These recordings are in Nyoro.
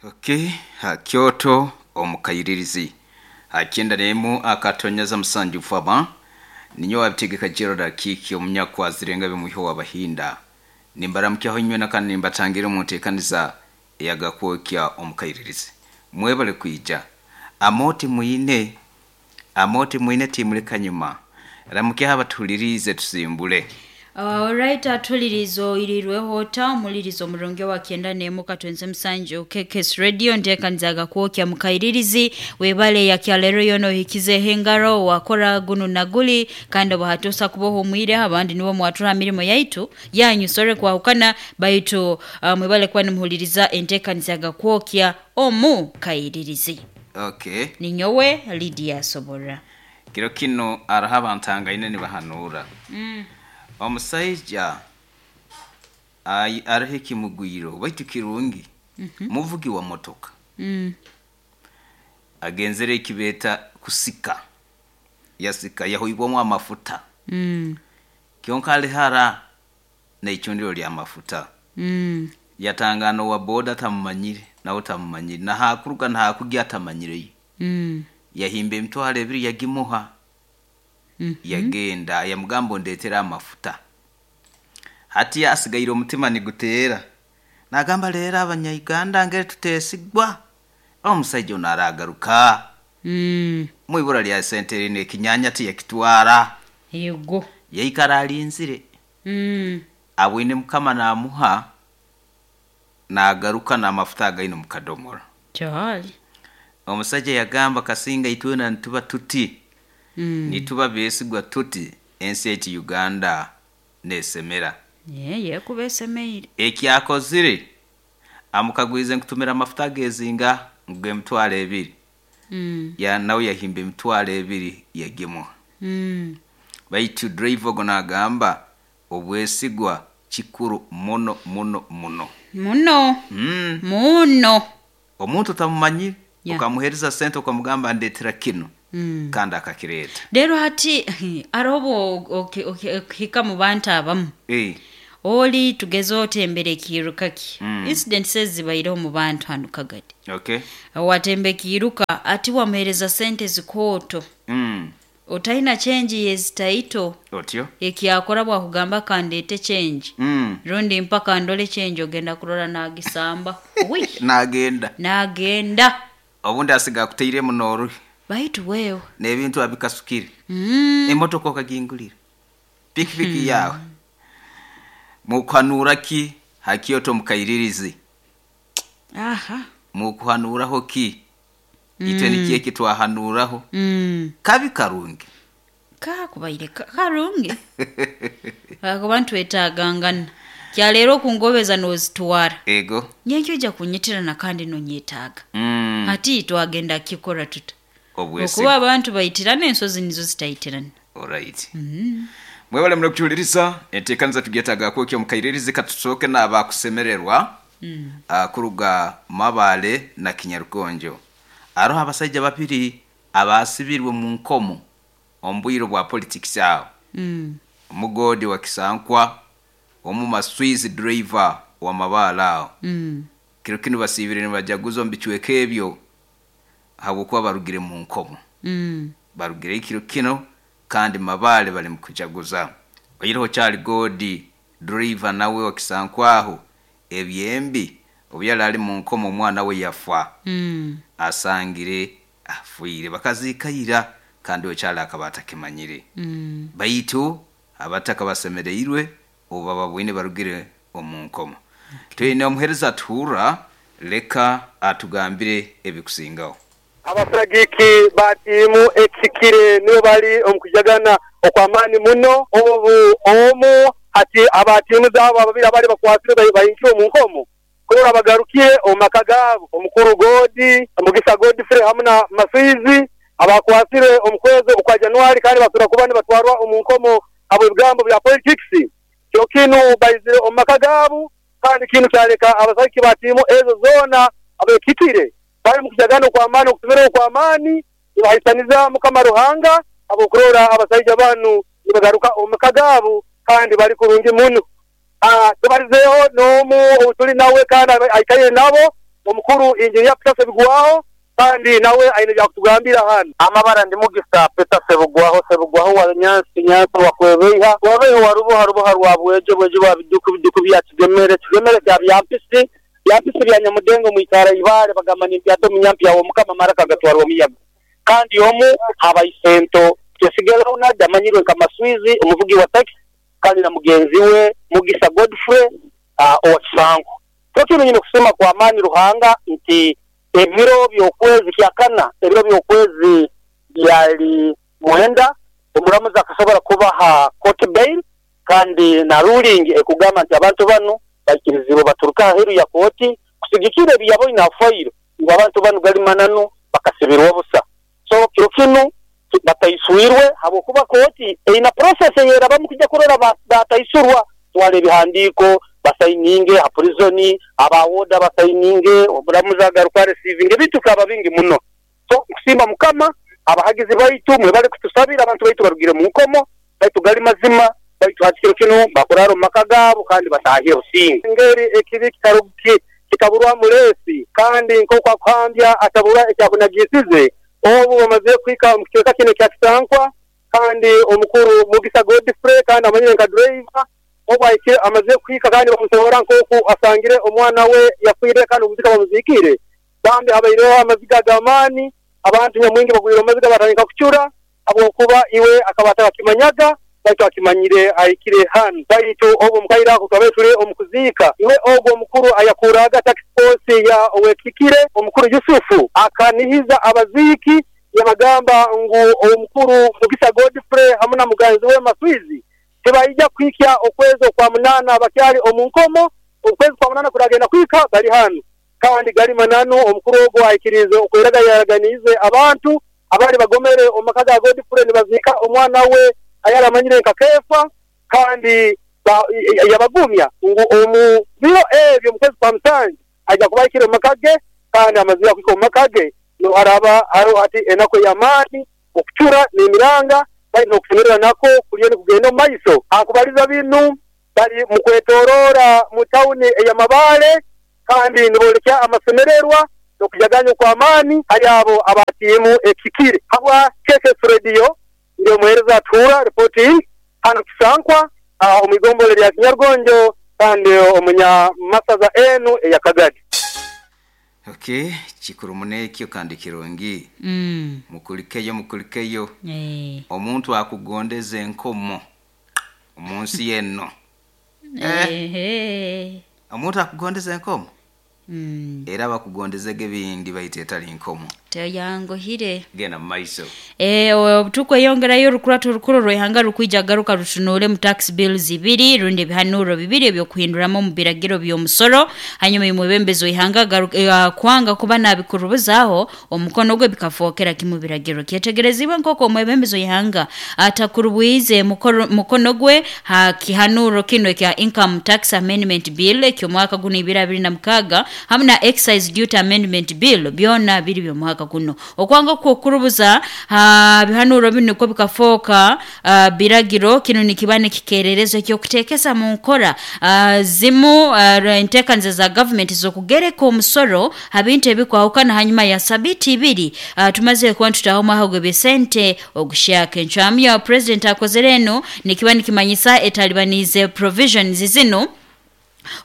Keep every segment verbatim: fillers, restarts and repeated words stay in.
Okay, ha Kyoto omukairirizi hakyenda nemu akatonyeza musanju faba ninyo wabitegeka Gerald Akiki omunyakwazirenga bimuho wabahinda nimbaramukyaho inywe nakandi nimbatangira mu nteekaniza eyagakwokya omukairirizi. Mwebale kwija amoti mwine amoti mwine timuleka nyuma ramukyaho abatulirize tusimbule. Alright, atulirizo irirweho ota omulirizo omurungi wa kyenda nemu katwenze musanju K K S Radio nteekanizaga kwokya mukairirizi webale ya kyalero yono hikize hengaro wakora gunu naguli kandi bahatosa kuboho mwire abandi nibo mwatura mirimo yaitu yanyu sore kwahukana baitu uh, mwebale kwa nimuhuliriza enteekanizaga kwokya omu kairirizi. Okay. Ninyowe Lydia Sobora. Kiro kino araha ntangaine nibahanura. Mm. Omusaija ai arahe kimugwiro baitu kirungi. Mm -hmm. Muvugi wa motoka. Mm. Agenzere kibeta kusika. Yasika yahoibwamo amafuta. Mm. Kyonkale hara na ichundiro lya mafuta. Mm. Yatangano wa boda tamumanyire nawe tamumanyire na hakuruga na hakugia tamanyire. Mm. Yahimbe mtwale ebiri yagimuha. Mm -hmm. Yagenda yamugambo ndetera amafuta. Hati asigaire omutima nigutera. Nagamba lera abanya-Uganda ngere tutesigwa. Omusajja ono aragaruka. Mm. Mwibura lya sente rine kinyanya ti yakitwara. Yego. Yaikara alinzire. Mm. Abwine mukama namuha nagaruka n'amafuta againo mukadomora. Cyali. Omusajja yagamba kasinga itwena nituba tuti. Mm. Nituba besigwa tuti ensi eti Uganda nesemera. Ye ye kubesemeire. Ekyakozire amukagwize nkutumira amafuta gezinga ngwe mtwale ebiri. Mm. Ya nawe yahimbe mtwale ebiri yagimuha. Mm. Baitu driver gonagamba obwesigwa kikuru muno muno muno. Muno. Mm. Muno. Omuntu tamumanyire Yeah. ukamuhereza sente ukamugamba ndetera kino. Mm. Kandi akakireta. Rero hati arobo okihika mu bantu abamu. Eh. Oli tugezo otembere kiruka ki. Mm. Incidents zibaire mu bantu hano kagati. Okay. Watembe kiruka ati wamuhereza sente zikoto. Mm. Otaina change yezitaito. Otyo. Ekyakora bwa kugamba kandete change. Mm. Rundi mpaka ndole change ogenda kurora nagisamba. Wi. Nagenda. Nagenda. Obundi asiga kuteire munoru. Baitu wewe n'ebintu abikasukire. Mm. Emotoka okagingulira. Pikipiki mm. yawe. Mukuhanura ki hakioto mukairirizi. Aha. Mukuhanuraho ki? Mm. Itwe nikiye kitwahanuraho. Mm. Kabi karungi. Ka kubaire karungi. Abantu etagangana. Kya lero kungobeza nozitwara. Ego. Nyenkyo ja kunyitirana kandi nonyetaga. Mm. Ati twagenda kikora tuta. Obwesi. Okuba abantu baitirana ensozi nizo zitaitirana. Alright. Mm. Mwebale mno kutuuliriza enteekaniza tugyetaaga kwokya mukairirizi katusoke n'abakusemererwa mm. uh, kuruga Mabale na Kinyarukonjo. Aroho abasajja babiri abasibirwe mu nkomo ombwiro bwa politics awo. Mm. Omugodi wa Kisankwa omu Maswizi driver wa Mabale awo. Mm. Kiro kino basibire nibajaguza omu bicweka ebyo habwokuba barugire mu nkomo. Mm. Barugire kiro kino kandi Mabale bali mukujaguza. Oyiroho Charlie Godi driver nawe wa Kisankwaho ebyembi obyala ali mu nkomo omwana we yafa. Mm. Asangire afuire bakazikayira kandi okyala akaba atakimanyire. Mm. Baitu abataka basemereirwe oba babwine barugire omu nkomo. Okay. Twine omuhereza atuhura leka atugambire ebikusingaho. Abasagiki ba tiimu ekikire nibo bali omukujagana okwamani muno obu omu ati abatiimu zabo ababiri abali bakwasire bayinkire omu nkomo kurora bagarukiye omumaka gabo omukuru Godi Mugisa Godfrey hamwe na Maswizi abakwasire omukwezi okwa Januari kandi basura kuba nibatwarwa omu nkomo abo ebigambo bya politics kyo kinu bayizire omumaka gabo kandi kinu kyaleka abasagiki ba tiimu ezo zona abekikire bali mukujagana kwa amani okutumira kwa amani nibahisaniza mukama Ruhanga abokurora abasajja banu nibagaruka omumaka gabo kandi bali kurungi muno. Ah tubarizeho n'omu otuli nawe kandi aikaire nabo Omukuru Engineer Peter Sebugwaho kandi nawe aine byakutugambira hano. Amabara ndi Mugisa Peter Sebugwaho, Sebugwaho wa Nyansi, Nyansi wa Kwebeiha, Kwebeiha wa Ruboha, Ruboha rwa Bwejo, Bwejo bwa Biduku, Biduku bya Kigemere, Kigemere kya Byampisi, Byampisi bya Nyamudengo mwikara Ibare, bagamba ni mpyato munyampi yawo Mukama maraka gatwarwa miyaga. Kandi omu abaisento Twesigera Ronald amanyirwe nka Maswizi omuvugi wa taxi kandi na mugenzi we Mugisa Godfrey uh, owa Kisango. Tokino nyine kusema kwa amani Ruhanga nti ebiro by'okwezi kyakana, ebiro by'okwezi byali mwenda, omuramuzi akasobora kubaha court bail kandi na ruling ekugamba nti abantu bano bakirizibwe baturuka aheru ya kooti kusigikira ebiyaboine afairo ngu abantu bano gali mananu bakasibirwa busa. So kiro kinu bataiswirwe habwokuba kooti eina process eyerabamu kujja kurora bataisurwa, twala ebihandiiko basayininge ha prison, abawoda basayininge, omuramuzi agaruka receiving ebintu kaba bingi muno. So kusimba Mukama abahagizi baitu mwe bali kutusabira abantu baitu barugire mu nkomo baitu gali mazima baitu hakiro kino bakuraro mu maka gabo kandi batahire obusinge. Ngeri ekibi kitaruki kitaburwa mulesi kandi nk'oku akuhambya atabura ekyakunagisize. Obu bamaze kwika mu kicweka kino kya Kisankwa kandi omukuru Mugisa Godfrey kandi amanyire nka driver obu ahikire amaze kwika kandi bamusohora nk'oku asangire omwana we yafiire kandi omuzika bamuzikire. Bambi habaireho amaziga g'amaani, abantu nyamwingi bagwire omumaziga batandika kucura habwokuba iwe akaba atakakimanyaga baitu akimanyire ahikire hano. Baitu obu omukaire ako twabaire turi omu kuziika, iwe ogwo omukuru ayakuraga tax force ya Owekikire omukuru Yusufu akanihiza abaziiki yabagamba ngu omukuru Mugisa Godfrey hamwe na muganzi we Maswizi tibaija kuhikya okwezi okwa munana bakyali omu nkomo, okwezi kwa munana kuragenda kwika bali hano. Kandi gali mananu omukuru ogwo ahikirize okweraga yaraganize abantu abali bagomere omu maka ga Godfrey nibaziika omwana we ayaramanyire nka Kefa kandi yabagumya ngu omu biro ebyo mu kwezi kwa musanju ajja kubahikira omu maka ge kandi amazire kuhika omu maka ge no araba hariho hati enaku ey'amaani okucura n'emiranga bali n'okusemererwa nako kuriyo nikugenda omu maiso. Akubaliza binu bali mu kwetorora mu tawuni ey'Amabaale kandi niboolekya amasemererwa n'okujaganya okw'amaani hali abo abatiimu ekikire. Habwa K K S Radio ndi omuheereza atuura reporting hano Kisankwa omu igombolo lya Kinyarugonjo kandi omunyamasaza enu eya Kagadi. Okay, kikuru munekyo kandi kirungi. Mm. Mukulikeyo mukulikeyo. Eh. Omuntu akugondeza enkomo omunsi yenno. Eh. Eh. Omuntu akugondeza enkomo? Mm. Era bakugondezege bindi baite etali nkomo. Teyangohire. Genda mu maiso. Eh, tukweyongerayo orukurato orukuru rw'ihanga rukwija garuka rutunuule mu tax bills ibiri rundi ebihanuro bibiri ebyokuhinduramu omu biragiro by'omusoro. Hanyuma omwebembezi w'ihanga uh, kwanga kuba nabikurubuzaho omukono gwe bikafookera kimu biragiro. Kyetegerezibwe nk'oku omwebembezi w'ihanga atakurubwize mukono gwe ha kihanuro kino ekya Income Tax Amendment Bill eky'omwaka guno ibiri abiri na mukaaga hamwe na Excise Duty Amendment Bill byona biri by'omwaka kuno. Okwanga kukurubuza ha bihanuro bino niko bikafoka uh, biragiro kino nikibane kikererezo ekyokutekesa mu nkora uh, zimu uh, entekanze za government zokugereka omusoro habintu ebikwahukana hanyuma ya sabiti ibiri uh, tumaze kuba tutaho mwaho besente ogushaka encwamu ya president akozere eno nikiba nikimanyisa etalibanize provisions zino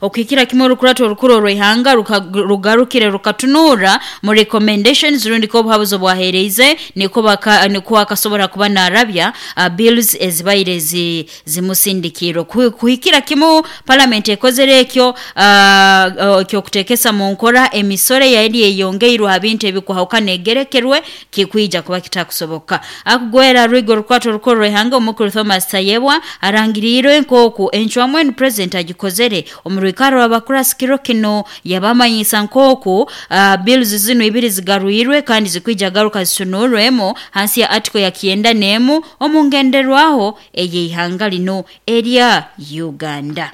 okukira kimwe orukurato orukuru orw'ihanga rugarukire rukatunura mu recommendations rundi ko obuhabuzi bwahereize niko baka niko akasobora kuba narabya uh, bills ezibaire zi, zimusindikiro kuhikira kimwe parliament ekozere ekyo uh, ekyo kutekesa mu nkora emisore yali eyongeirwe habintu ebikuhauka egerekerwe kikwija kuba kitakusoboka. Akugwera rwigo orukurato orukuru orw'ihanga omukuru Thomas Tayebwa arangiriirwe nkoku encwamu enu president agikozere omurwikaro abakurasi kino yabamanyisa nkoku uh, bills zino ibiri zigarwirwe kandi zikwija garuka zisunurwemo hansi ya article ya kienda nemu omungenderwaho ey'ihanga lino erya Uganda.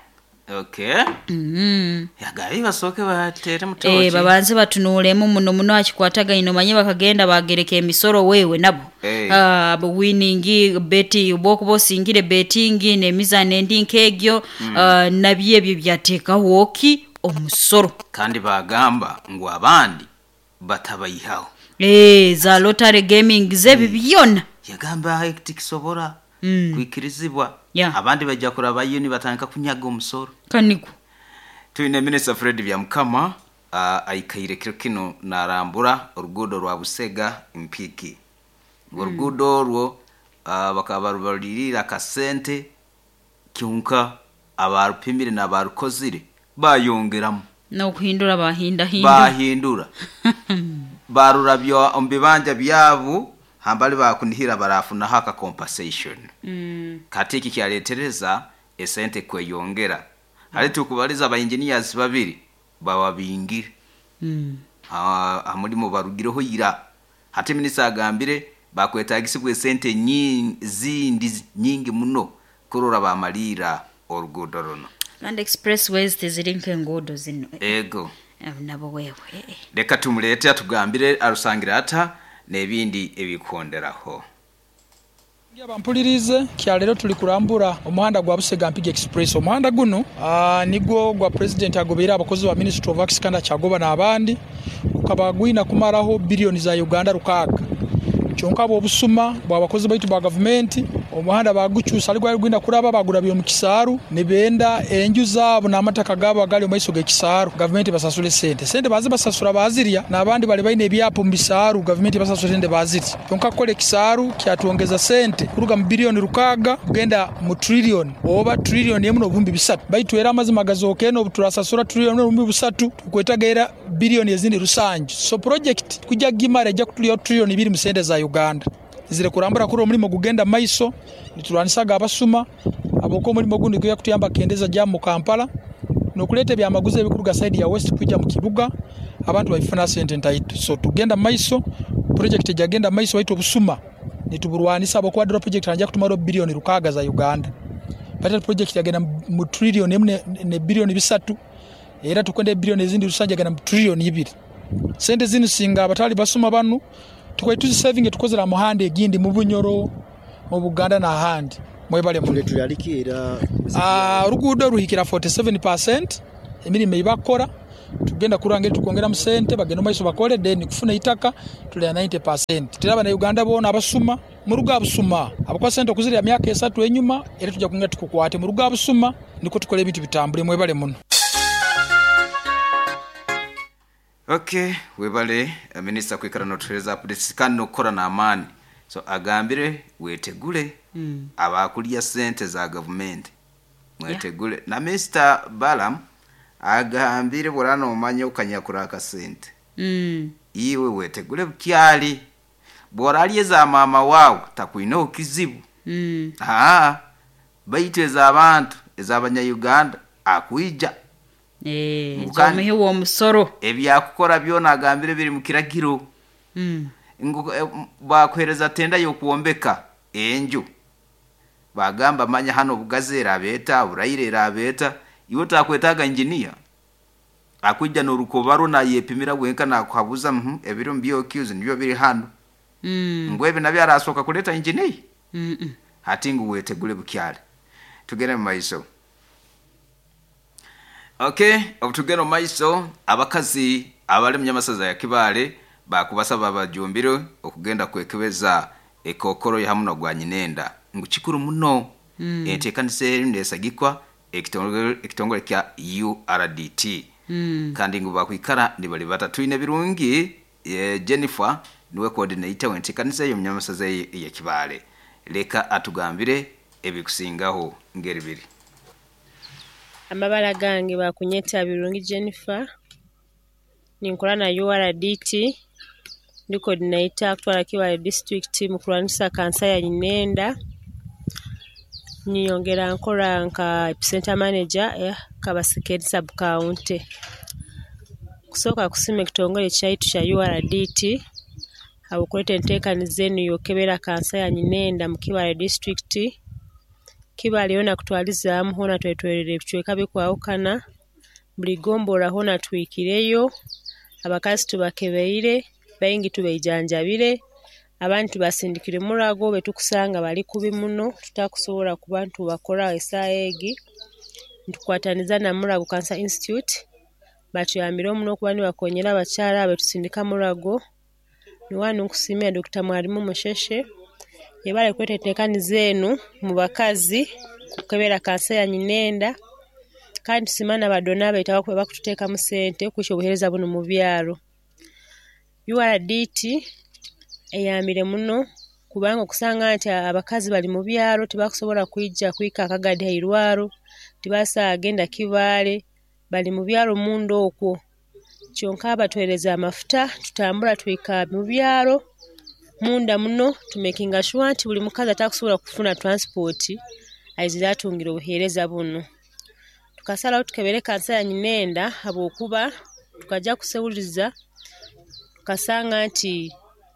Okay. Mm. Yagabi basoke batere mutoki. Eh, babanze batunulemu muno muno akikwatagaine omanye bakagenda bagereka emisoro wewe nabo. Hey. Ah, uh, winning beti obokuba osingire betting n'emizano endi nk'egyo. Mm. Uh, nabyo ebyo byateekaho ki Omusoro. Kandi bagamba ngu abandi batabayihaho. Eh, za lottery gaming zebi byona. Yagamba tikisobora Mm. kwikirizibwa. Yeah. Abandi bajja kurabayo nibatandika kunyaga omusoro. Kaniko. Tuine Minister Fred Byamukama uh, aikaire kiro kino narambura oruguudo rwa Busega Mpigi. Mm. Oruguudo orwo uh, bakaba barubalirira akasente kyonka abarupimire n'abarukozire bayongeramu. N'okuhindura bahinda hinda. Bahindura. Barurabya omu bibanja byabo hambali bakunihira barafunaho aka compensation. Mm. Kati iki kyaletereza esente kweyongera. Hali tukubaliza aba engineers babiri bababingire. Mm. Ha hamulimo barugireho ira. Hati minisita agambire bakwetagisibwa esente nyingi zindi nyingi muno kurora bamalira oruguudo runo. Land expressways teziri nk'enguudo zino. Ego. Eh, nabo wewe. Reka tumulete atugambire arusangira ata n'ebindi ebikonderaho. Bampulirize kya leero tuli kurambura omuhanda gwa Busega Mpigi Express. Omuhanda guno uh, nigwo gwa president agobeire abakozi ba Ministry of Works kandi akyagoba n'abandi gukaba gwina kumaraho biliyoni za Uganda rukaaga. Kyonka bw'obusuma bw'abakozi baitu ba gavumenti omuhanda bagukyusa ali gwali gwina kuraba bagurabye omu kisaaru nibenda enju zaabo n'amataka gaabo agali omu maiso g'ekisaaru gavumenti basasule sente. Sente bazi basasura bazirya n'abandi bali baine ebyapo mu bisaaru gavumenti basasule sente bazirya. Kyonka kukola ekisaaru kyatwongeza sente kuruga mu biliyoni rukaaga kugenda mu trillion oba trillion emu n'obuhumbi bisatu. Baitu era amazima gazooka eno obu turasasura trillion n'obuhumbi busatu tukwetaga era biliyoni ezindi rusanju. So project kujja gimara ejja kutulya trillion ibiri mu sente za Uganda. Zire kurambura kuri omulimo gugenda maiso nitulwanisaga abasuma aboko omulimo gundi kuya kutuyamba kendeza jamu mu Kampala nokuleta ebyamaguzi ebikuruga side ya West kujja mu kibuga abantu babifuna sente ntaito. So tugenda maiso project ejagenda maiso waitu obusuma nituburwanisa aboko wadro project anja kutumara billioni rukaaga za Uganda. But project yagenda mu trillion emu ne, ne billioni bisatu era tukwenda billioni ezindi rusanja genda mu trillion ibiri. Sente zinu singa abatali basuma banu tukwe tuzi saving tukozera muhande egindi mu Bunyoro mu Buganda na handi mwebale mu tuyalikira. Ah, oruguudo ruhikira forty-seven percent emirimo ibakora tugenda kurangire tukongera musente bagenda maiso bakole then kufuna itaka tulya ninety percent. Teraba na Uganda bona abasuma muruga abusuma abakwa sente okuzirya myaka esatu enyuma era tujja kunga tukukwate muruga abusuma niko tukole ebintu bitambule mwebale muno. Okay, webale minister kwikara notuhereza updates kandi nokukora n'amaani. So agambire wetegule Mm. abakulya sente za government mwetegule. Yeah. Na Mister Balam agambire burano omanye okanyakura akasente. Mm. Iwe wetegule bukyali bworalye za mama wawe takwina okizibu. Mm. Ah, baitu ez'abantu ez'abanya-Uganda akwija. Eh, Ngukani- zomuhi w'omusoro. Ebyakukora byona agambire biri mu kiragiro. Mm. Ngu eh, bakuhereza tenda y'okwombeka enju. Bagamba manya hano bugazi erabeta, buraire erabeta, iwe takwetaga engineer. Akwijja n'orukobaro nayepimira bwenka nakuhabuza mhm ebiro mbyokyuzi nibyo biri hano. Mm. Ngwe ebi nabyo arasoka kuleta engineer. Mm. -mm. Hati ngu wetegule bukyali. Tugende mu maiso. Okay, obutugenda mu maiso abakazi abali mu nyamasaza ya Kibaale bakubasaba abajumbire okugenda kwekebeza ekokoro ya hamuno gwa nyinenda ngu kikuru muno. Mm. Enteekanisa eri nesagikwa ekitongole ekitongole kya U R D T. Mm. Kandi ngu bakwikara nibali batatu birungi e, Jennifer niwe coordinator w'enteekanisa eyo mu nyamasaza ya Kibaale. Leka atugambire ebikusingaho ngeri biri. Amabala gange bakunyeta Birungi Jennifer, ninkola na U R D T, ndi coordinator kutwala Kibaale district mu kulwanisa kansa ya nyinenda. Nyongera nkola nka center manager ya Kabasekeri sub county. Kusooka kusima ekitongole kyaitu kya U R D T abukuleta enteekaniza enu yokebera kansa ya nyinenda mu Kibaale district. Kibaale yona kutwalizaamu hona twetwerere ebicweka bikwawukana buli gombolola hona twikireyo abakazi tubakebeire baingi tubeijanjabire abantu tubasindikire murago betukusanga bali kubi muno tutakusobola kuba ntubakora esaaha egi ntukwataniza na Murago Cancer Institute Batuyambire muno okuba nibakonyera abakyara abetusindika Murago. Niwanu nkusiimira Doctor Mwalimu Musheshe yebale kuleeta enteekaniza enu mu bakazi kukebera kansa ya nyinenda, kandi tusiima n'abadona baitu abaku abakututeekamu sente kwikya obuheereza bunu mu byaro. U R D T eyambire muno kubanga okusanga nti abakazi bali mu byaro tibakusobora kwija kuhika Kagadi ha irwaro, tibakusobora kugenda Kibaale, bali mu byaro munda okwo. Kyonka batuheereza amafuta tutambura tuhika mu byaro munda muno tumekinga sure nti buli mukazi atakusobora kufuna transport aizire atungire obuheereza bunu. Tukasaraho tukebere kansa ya nyinenda habwokuba tukaja kuseruliza tukasanga nti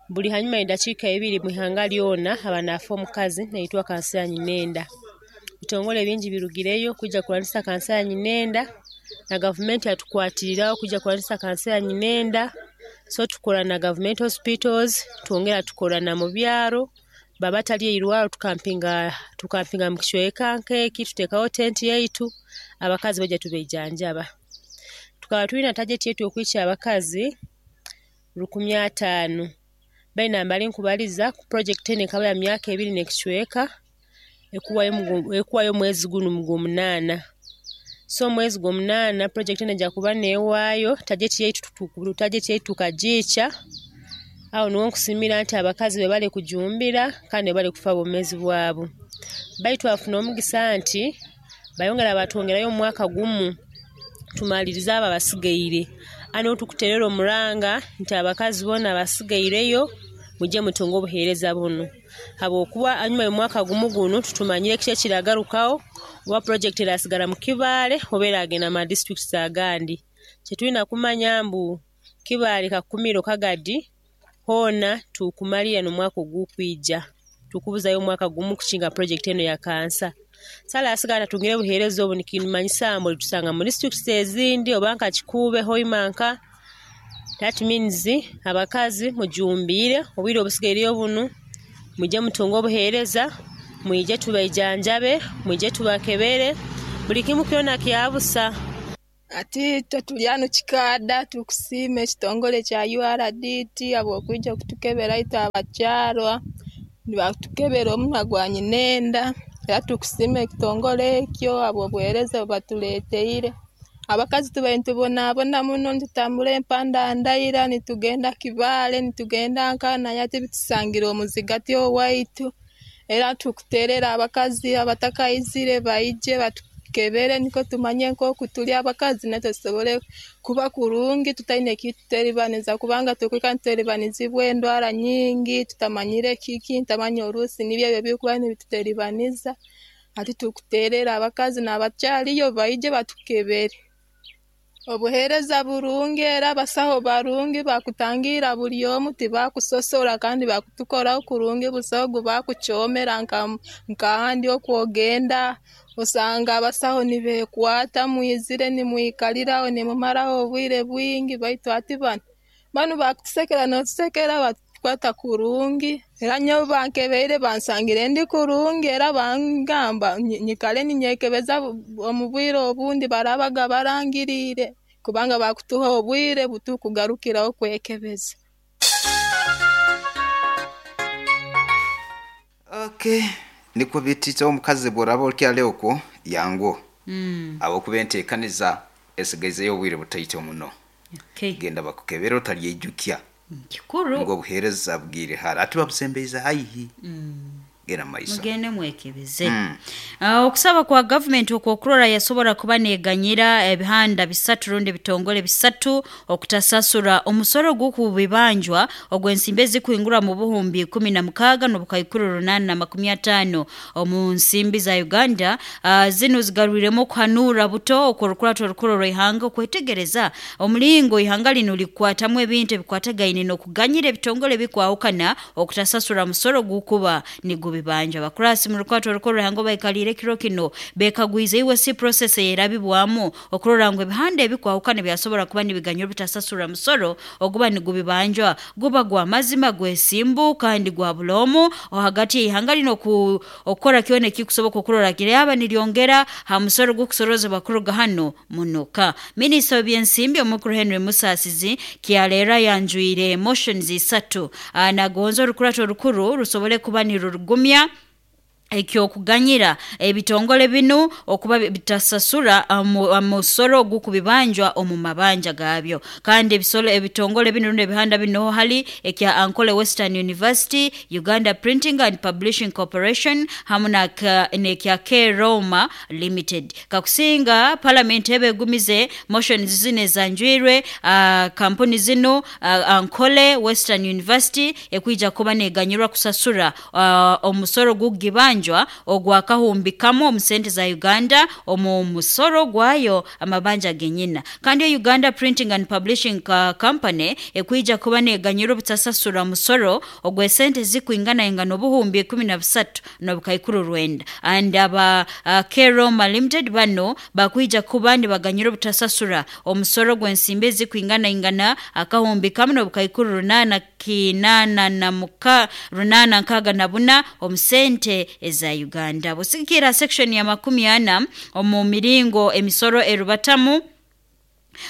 buli hanyuma y'edakiika ibiri mu ihanga lyona aba naafa omukazi naitwa kansa ya nyinenda. Ebitongole bingi birugireyo kwija kurwanisa kansa ya nyinenda na gavumenti yatukwatiriraho kwija kurwanisa kansa ya nyinenda. So tukora na government hospitals, twongera tukora na mu byaro, baba tali eirwaro tukampinga tukampinga mu kicweka nk'eki tuteekaho tenti yaitu abakazi baija tubaijanjaba. Tukaba twina target yaitu y'okwikya abakazi rukumi ataano. Baina mbali nkubaliza ku project enu ekaba ya myaka ebiri n'ekicweka ekuwayo mugu, ekuwayo mwezi gunu mugw'omunaana. So omwezi gw'omunaana project enu ejja kuba neewaayo target yaitu tutu target yaitu tukagiikya. Aho niho nkusiimira nti abakazi bebale kujumbira kandi bebale kufa obwomeezi bwabo. Baitu twafuna omugisa nti bayongera batwongerayo omwaka gumu tumalirize abo abasigaire. Ano tukuterera omuranga nti abakazi boona abasigaireyo mujye mutunge obuheereza bunu. Habwokuba hanyuma y'omwaka gumu gunu tutumanyire kiki ekiragarukaho oba project erasigara mu Kibaale oba eragenda mu districts agandi. Kyetulina kumanya mbu Kibaale Kakumiro Kagadi hoona tukumalira n'omwaka ogukwija. Tukubuzayo omwaka gumu kukinga project eno ya kansa. Sala asigala tatungire obuheereza obu nikimanyisa mbu tusanga mu districts ezindi oba nka Kikuube, Hoima nka. That means abakazi mujumbiire obwire obusigaireyo bunu mujye mutunge obuheereza, mwije tubaijanjabe, mwije tubakebere, buli kimu kyona kyabusa. Ati itwe tuli hanu Kikaada tukusiima ekitongole kya U R D T habw'okwija kutukebera itwe abakyarwa nibatukebera omunwa gwa nyinenda era tukusiima ekitongole ekyo habw'obuheereza obu batuleeteire. Abakazi tubaire nitubonaabona muno nitutambura empanda ndaira nitugenda Kibaale nitugenda nka naye hati bitusangire omuzigati owaitu era tukuteerera abakazi abatakaizire baije batukebere nikwo tumanye nk'oku tuli abakazi naitwe tusobole kuba kurungi tutaine ekituteribaniza kubanga tukwika nituteribanizibwa endwara nyingi tutamanyire kiki ntamanya oruusi nibyo ebyo ebirikuba nibituteribaniza. Hati tukuteerera abakazi n'abakyariyo baije batukebere. Obuheereza burungi era abasaho barungi bakutangira buli omu tibakusosora kandi bakutukoraho kurungi busaho ogu bakukyomera nka nk'ahandi okwogenda osanga abasaho nibeekwata mwizire nimwikaliraho nimumaraho obwire bwingi baitu hati banu banu bakutusekera n'otusekera batukwata kurungi era nyowe bankebeire bansangire ndi kurungi era bangamba nyikale ninyekebeza omu bwire obundi barabaga barangiriire kubanga bakutuha obwire butukugarukiraho kwekebeza. Okay, nikwo bititse omukazi bworaba okyali okwo yangu. Mm. Abo kubenteekaniza esigaizeyo obwire butaito muno. Okay. Genda bakukebera otalyejukya. Kikuru. Ngo obuheereza bwire hara ati babusembeiza haihi. Mm. Genda maiso. Mugende mwekebeze. Mm. Uh, okusaba kwa government okwokurora yasobora kuba neganyira ebihanda bisatu rundi bitongole bisatu okutasasura omusoro gukubibanjwa ogwensimbe zikuingura mu buhumbi kumi na mukaga n'obukaikuru runana na makumi atano omu nsimbi za Uganda. Uh, zino zigarwiremo kuhanura buto okurukurato rukuru rw'ihanga okwetegereza omulingo ihanga lino likwatamu ebintu ebikwatagaine n'okuganyira ebitongole bikwahukana okutasasura musoro gukuba ni Ogugubibanja abakurasi mu rukwato orukuru hango baikalire kiro kino bekagwize iwe si process yerabibwamu okurora ngo ebihanda ebikwahukana byasobora kuba nibiganyura bitasasura musoro oguba nigubibanjwa guba gwa mazima gwesimbu kandi gwa bulomu hagati y'ihanga lino ku okora kyone kikusoboka okurora kire aba nilyongera ha musoro gukusoroza bakuruga hano munuka. Minisita w'ebyensimbi omukuru Henry Musasizi kyalera yanjuire motions isatu anagonza orukurato rukuru rusobole kuba nirurugumya ekyokuganyira ebitongole binu okuba bitasasura amusoro gukubibanjwa omu mabanja gabyo. Kandi ebisolo ebitongole binu n'ebihanda bino hali ekya Ankole Western University, Uganda Printing and Publishing Corporation hamu na nekya K Roma Limited. Kakusinga parliament ebegumize motions zine zanjwirwe uh, kampuni zino uh, Ankole Western University ekwija kuba neganyirwa kusasura uh, omusoro gugibanja ogwa kahumbi kamo omusente za Uganda omu musoro gwayo amabanja genyina. Kandi Uganda Printing and Publishing Company ekwija kuba neganyiro butasasura musoro ogwe sente zikuingana ingano buhumbi kumi na busatu n'obukaikuru rwenda. And aba uh, K Roma Limited bano bakwija kuba nibaganyiro butasasura omusoro gwensimbe zikuingana ingana akahumbi kamo n'obukaikuru runana kinana na muka runana nkaga na buna omusente eza Uganda. Busikira section ya makumi ana omu miringo emisoro erubatamu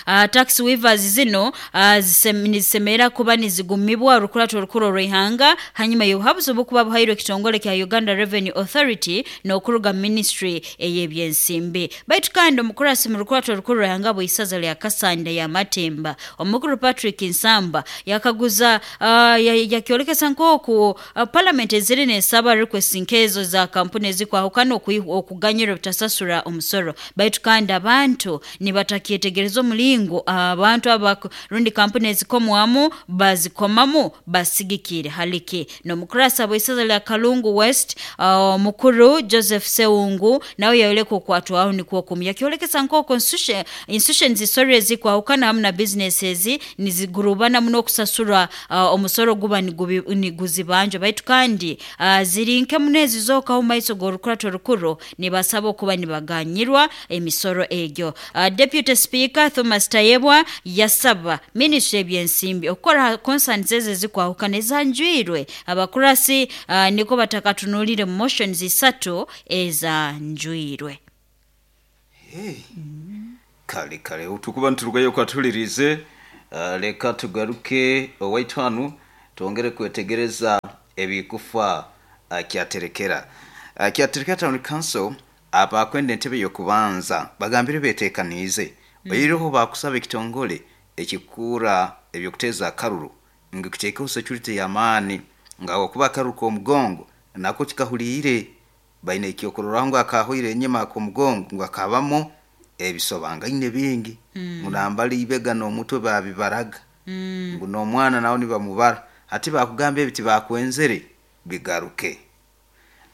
Uh, tax waivers zino uh, nizisemera kuba nizigumibwa rukurato rukuru rw'ihanga hanyuma y'obuhabuzi obukuba buhairwe ekitongole kya Uganda Revenue Authority n'okuruga ministry ey'ebyensimbi. Baitu kandi omukurasi mu rukurato rukuru rw'ihanga bw'isaza lya Kasanda ya Matemba omukuru Patrick Nsamba yakaguza uh, yakyolekesa nk'oku uh, parliament eziri nesaba request nkezo za kampuni ezikwahukana okuganyira obutasasura omusoro. Baitu kandi abantu nibatakyetegereza omulingo abantu aba rundi kampuni ezikomwamu bazikomamu basigikire haliki. N'omukurasa bw'isaza lya Kalungu West uh, mukuru Joseph Seungu nawe yayoleka okwatwaho nikwo kumya yakyolekesa nk'oku institutions zisore ezikwahukana hamu na businesses nizigurubana muno okusasura uh, omusoro guba niguzibanja. Baitu kandi uh, ziri nke munezi zokaho maiso g'orukurato rukuru nibasaba okuba nibaganyirwa emisoro egyo. Uh, Deputy Speaker Thomas Tayebwa yasaba ministry ebyensimbi okukora concerns eze zikwahukana ezanjwirwe abakurasi uh, niko batakatunulire motions isatu ezanjwirwe. Hey. Mm. Kale kale utukuba nturugayo kwatulirize uh, leka tugaruke owaitwanu tuongere kwetegereza ebikufa uh, kyaterekera uh, kyaterekera Town Council abakwenda entebe yokubanza bagambire betekanize mm. Oyiroho bakusaba ekitongole ekikura ebyokuteza akaruru ngikuteekaho security yamaani nga okuba akaruru k'omugongo nako kikahuliire baine ekyokurora ngo akahoire enyima k'omugongo ngo akabamo ebisobangaine bingi mm. Munambali ibega n'omutwe babibaraga mm. Ngu n'omwana nawo nibamubara ati bakugamba ebiti bakwenzere bigaruke.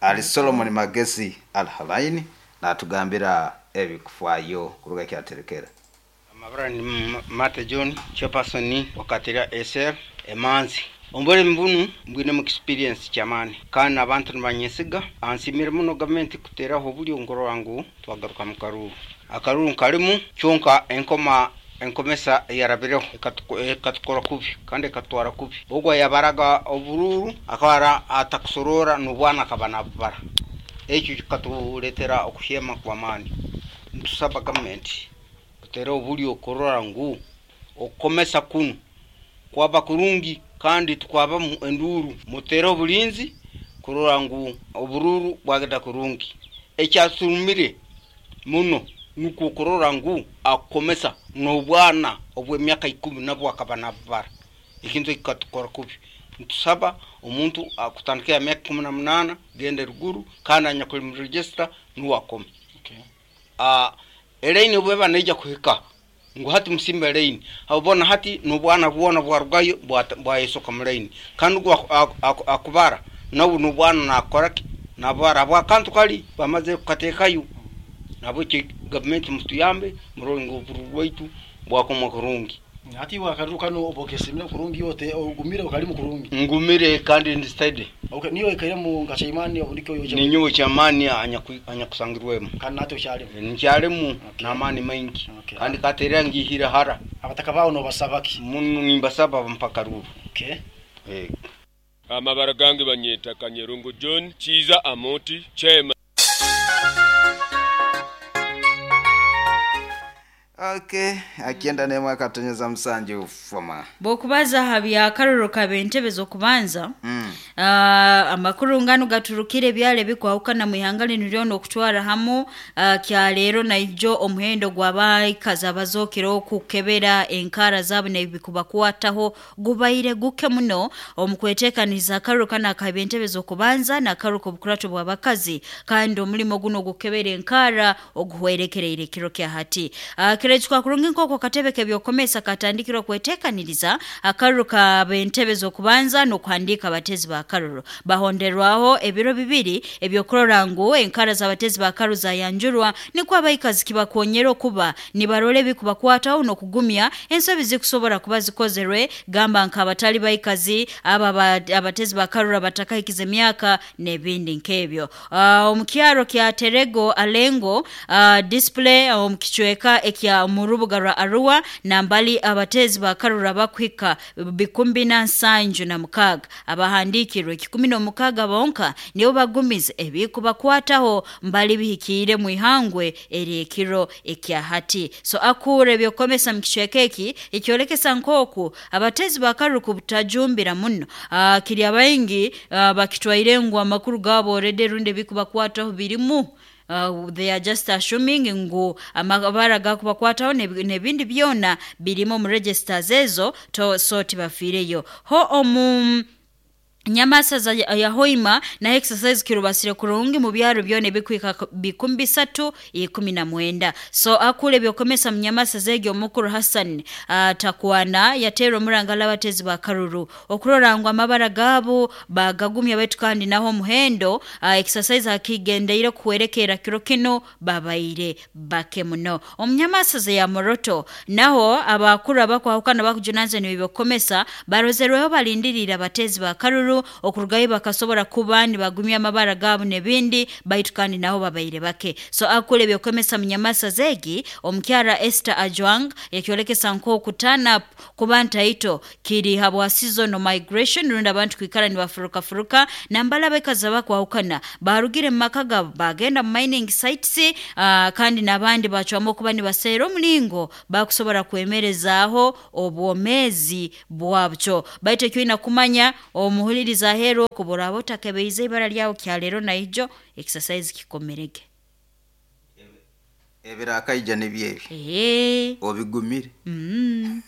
Ali Solomon Magezi Alhalaini natugambira ebikufaayo kuruga kyaterekera. Amabara ni Mate John, chairperson wakatira S R Emanzi. Ombere mbunu mbwine mu experience chamani kandi abantu nibanyesiga ansimire muno government kuteraho buli ngoro wangu twagaruka mu karuru akaruru kalimu kyonka enkoma enkomesa yarabireho ekatukora kubi kandi ekatwara kubi ogwa yabaraga obururu akabara atakusorora n'obwana akaba nabubara ekyo kikatuletera okuhyema kwa maani. Ntusaba government kutera obuli okorora ngu okomesa kunu kwaba kurungi kandi tukwaba enduru mutera obulinzi kurora ngu obururu bwagenda kurungi. Ekyasurumire muno nuko kurora ngu akomesa n'obwana obw'emyaka ikumi nabwo akaba nabubara ekintu kikatukora kubi. Ntusaba omuntu akutandika emyaka ikumi na munana gende ruguru kandi anyakuli mu register nuwakome. Okay. Ah eleini obweba neija kuhika ngu hati musimba eleini abona hati n'obwana bwona bwarugayo bwayesoka mu leini kandi akubara nabu n'obwana nakora nabara bwakantu kali bamaze kukatekayo nabo ki government mutuyambe murongo obururu bwaitu bwakoma kurungi. Ati wakaruru kano obokesimire kurungi yote ogumire okalimu kurungi. Ngumire kandi ndi steady. Okay, niyo ikairemu nka chaimani obundiko yoje. Ninyowe chamani anya kusangirwemu. Kandi nato kyalimu. Nkyalimu n'amaani maingi. Okay. Kandi katerera ngihira hara. Abataka bawo no basabaki. Munu nimbasaba mpaka ruru. Okay. Eh. Amabara gange banyeta Kanyerungu John Chiza Amoti Chema. Okay, akienda nemwe akatonyeza msanje ufoma. Bokubaza habya karuru kabentebe zokubanza. Mm. Uh, amakuru ngano gaturukire byale bikwahukana mu ihanga lino okutwara hamu uh, kya leero naijo omuhendo gw'abaikazi abazokera okukebera enkara zaabo nebikubakwataho gubaire guke muno omukweteekaniza akaruru kano akabentebe zokubanza n'akaruru k'obukurato bw'abakazi kandi omulimo guno gukebera enkara oguhwerekereire ekiro kya hati. Uh, kirechukwa kurungi nkoko katebe kebyokomesa katandikirwa kwetekaniriza akaruru kabentebe zokubanza n'okuhandiika abatezi ba karuru bahonderwaho ebiro bibiri ebyokurora ngu enkara z'abatezi ba karuru zayanjurwa nikwo abaikazi kibakonyera okuba nibarole bikubakwataho n'okugumya ensobi zikusobora kuba zikozerwe gamba nk'abatali baikazi aba abatezi ba karuru abatakahikiza emyaka n'ebindi nk'ebyo. Uh, omukyaro kya Terego Alengo uh, display omukichweka ekya murubuga rwa Arua nambali abatezi ba karuru abakwika bikumbi na nsanju na mukaga abahandikirwe kikumi no mukaga bonka nibo bagumize ebikubakwataho mbali bihikire mu ihangwe eri ekiro ekya hati. So akure byokomesa mu kichweka eki ekyolekesa nkoku abatezi ba karuru kubutajumbira muno uh, kiri abaingi uh, bakitwaire ngu amakuru gabo already runde bikubakwataho birimu. Uh, they are just assuming ngu amabara gakubakwataho nebindi byona birimo mu registers ezo to so tibafireyo ho omu nyamasa za ya hoima na exercise kirubasire kurungi mu byaro byone bikwika bikumbi satu ikumi na mwenda. So akule byokomesa mnyamasa zege omukuru Hassan uh, takwana yatero murangala abatezi ba karuru okurora ngo amabara gabo bagagumya betu kandi naho muhendo uh, exercise akigendeire kuwerekera kiro kino babaire bake muno. Omnyamasa ze ya Moroto naho abakuru abakwahukana bakujunanze ni byokomesa barozerweho balindirira abatezi ba karuru okurugayo bakasobora kuba nibagumya amabara gabo nebindi baitu kandi naho babaire bake. So akule byokomesa mnyamasa zegi omukyara Esther Ajwang yakyolekesa nko kutana kubanta ito kiri habwa season migration runda abantu kwikara nibafuruka furuka nambala bekaza bakwahukana barugire mu maka gabo bagenda mining sites uh, kandi nabandi bacwamo kuba nibasera omulingo bakusobora kwemerezaaho obwomezi bwabyo. Baitu ekyo kumanya omuhuliriza hero kubura otakebeize ibara lyawo kya lero naijo exercise kikomerege ebirakaija nebyebi eh obigumire mm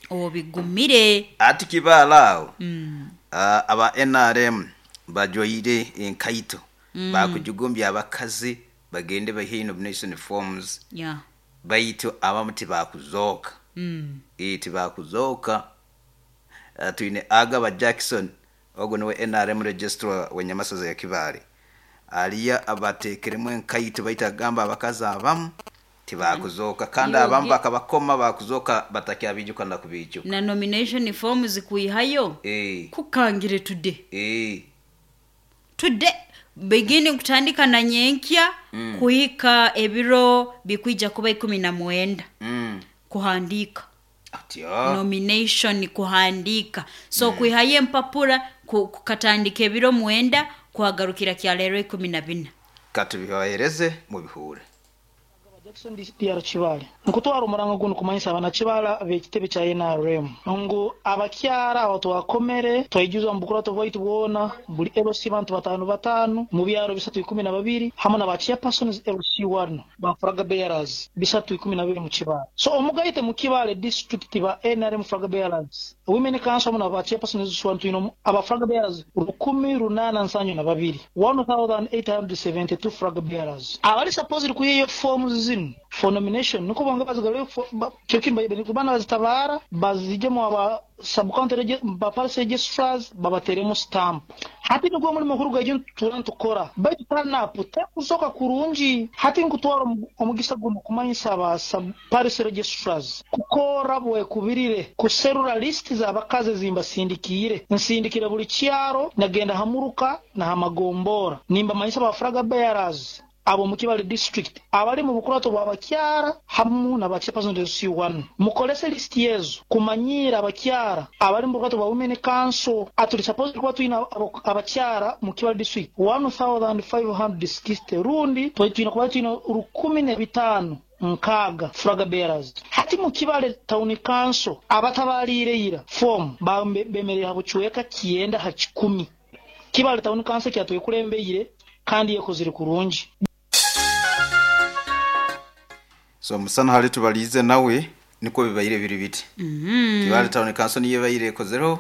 obigumire ati kibala awo mm. uh, aba N R M bajoyire enkaito mm. bakujugumbya abakazi bagende bahe nomination forms yeah baitu abamu tibakuzoka mm eh tibakuzoka. Uh, tuine Agaba Jackson ogo niwe N R M registrar wenyamasaza ya Kibale aliya abatekeremu enkaito baita gamba abakazi abamu tibakuzoka kandi abamu bakabakoma bakuzoka batakyabijuka na kubijuka na nomination forms kuihayo eh kukangire today eh today beginning kutandika na nyenkya mm. kuhika ebiro bikwija kuba ikumi na mwenda mm. kuhandika Atyo. Nomination kuhandika so mm. kuihaye mpapura kukatandika ebiro mwenda kuhagarukira kya lero ikumi na bina. Katubibahereze mu bihure. Jackson D R Kibale nkutwara omuranga guno kumanyisa abana Kibala bekitebe kya N R M ngu abakyara abo twakomere twayijuzwa mu bukurato bwaitu bwona buli L C bantu batano batano mu byaro bisatu ikumi na babiri hamwe na ba chairpersons L C one ba flag bearers bisatu ikumi na babiri mu Kibale. So omugaite mu Kibale district ba N R M flag bearers women council hamwe na ba chairpersons one twino aba flag bearers rukumi runana nsanyu na babiri one thousand eight hundred seventy-two flag bearers abali supposed kuyiyo forms zino again for nomination niko bonge bazigarure kyo bana bazitabara bazijemo aba sub-county ba parish registrars babateremo stamp. Hati nigwo mulimo mukuru gwaitu turan tukora baitu turn-up tekusoka kurungi. Hati nkutwara omugisa guno kumanyisa aba sub-parish registrars kukora bwekubirire kuserura list z'abakazi zimbasindikiire nsindikire buli kyaro nagenda hamuruka na hamagombora nimbamanyisa aba flag bearers abo mu Kibale district abali mu bukurato bw'abakyara hamu na bachairperson C one mukolese list yezo kumanyira abakyara abali mu bukurato bwa women council. Atuli supposed kuba tuina abakyara mu Kibale district one thousand five hundred sixty rundi twina kuba tuina rukumi na bitano nkaga flag bearers. Hati mu Kibale town council abatabalire form bemerera habuchweka kienda ha kikumi. Kibale town council kyatuye kulembeire kandi yekozire kurungi. So musana hali tubalize nawe niko bibayire biri biti. Mm -hmm. Kibale town council niye bayire kozero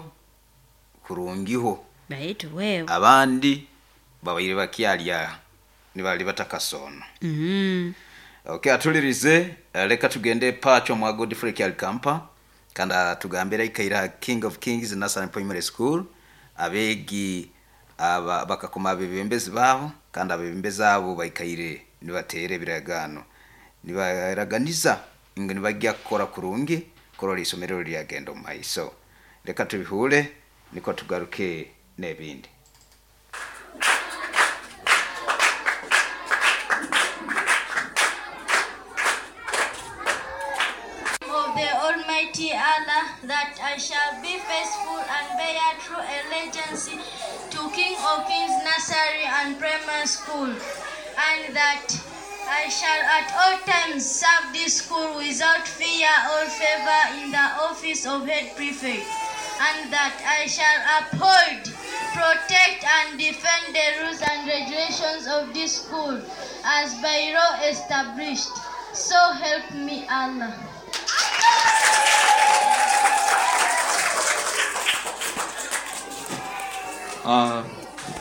kurungiho. Baitu wewe. Abandi babayire bakyalya nibali batakasono. Mm -hmm. Okay, atulirize leka tugende pacho mwa Godfrey Kyalikampa kanda tugambira ikaira King of Kings National Primary School abegi aba bakakoma abebembezi babo kandi abebembezi abo baikaire nibatere biragano nibaraganiza ngo nibajya kukora kurungi korora isomero lyagenda mu maiso. Reka tubihure niko tugaruke n'ebindi. Of the Almighty Allah, that I shall be faithful and bear true allegiance to King of Kings Nursery and Primary School, and that I shall at all times serve this school without fear or favor in the office of head prefect, and that I shall uphold, protect, and defend the rules and regulations of this school as by law established. So help me Allah. Uh,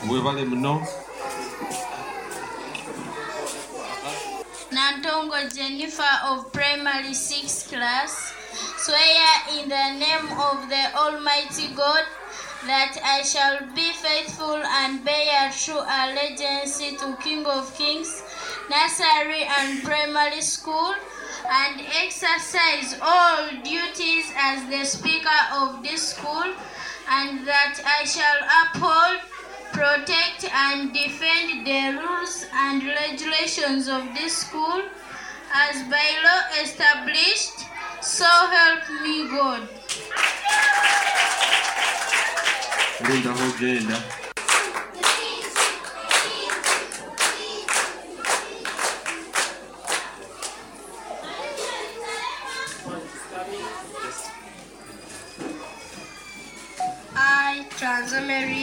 webale muno. Nantongo Jennifer of Primary six class, swear in the name of the Almighty God that I shall be faithful and bear true allegiance to King of Kings Nursery and Primary School, and exercise all duties as the speaker of this school, and that I shall uphold, protect, and defend the rules and regulations of this school as by law established. So help me God. Linda Hogenda. I, Transameri